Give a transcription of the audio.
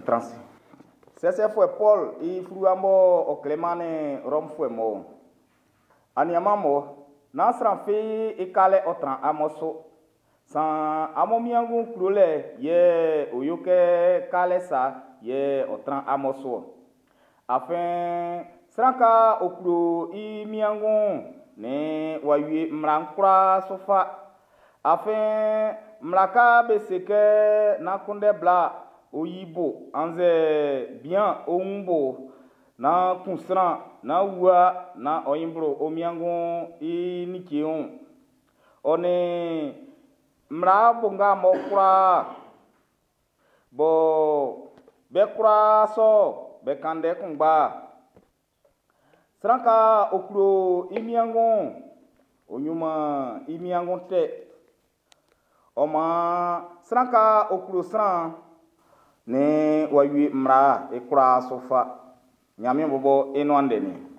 Be tran ase. Sɛsɛfuɛ Pɔl i fluwa b'ɔ ɔ klɛ mannin Rɔmfuɛ mun'n. Aniaanmun, nán sran fi i kalɛ ɔ tran amun su. Saan amun wiengu klolɛ yɛ ɔ yo kɛ kalɛ sa yɛ ɔ tran amun su ɔ. Afin sran nga ɔ klo i wiengu'n, nn w'a wie mmla'n kwlaa su fa. Afin mmla nga be se kɛ nán kunndɛ bla ɔ yi bo annzɛ bian ɔ wun bo, nán kun sran, nán wua, nán ɔ ɲin blo ɔ wiengu i like wun'n, ɔ nin mmla onga mun kwlaa, bɔ be kwlaa sɔ'n be kan ndɛ kunngba'n. Sran nga ɔ klo i wiengu'n, ɔ yoman i wiengu tɛ. Ɔ maan sran nga ɔ klo sran'n, nn w'a wie mmla'n i kwlaa su fa. Ɲanmiɛn bɔbɔ i nuan ndɛ'n niɔn.